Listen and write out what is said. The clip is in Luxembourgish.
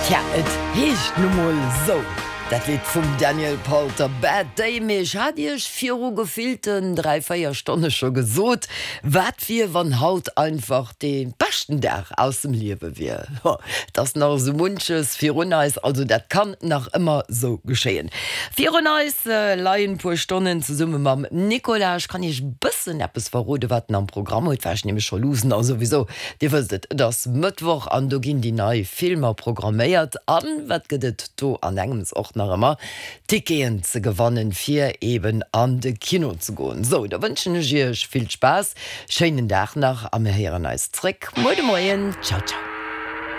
Tja, et heescht nu mol sou, dat Lidd vum Daniel Powter, Bad Day. Mee ech hat iech viru gefillten 3, 4 Stonne scho gesot, wat wier, wann haut einfach dee beschten Dag aus dem Liewe wier. Jo, et ass nach esou munches virun eis, also dat kann nach ëmmer sou geschéien. Virun eis leien puer Stonnen zesumme mam Nicolas. Ech kann iech e bëssen eppes verrode wat en am Programm huet, war ech nämlech scho luussen a souwisou, dir wësst et, et ass Mëttwoch an do ginn déi nei Filmer programméiert. An wat gëtt et do an engems och nach ëmmer? Ticketen ze gewannen fir eben an de Kino ze goen. Sou, da wënschen ech iech vill Spaass, schéinen Dag nach a mir héieren eis zréck muer de Moien. Ciao ciao.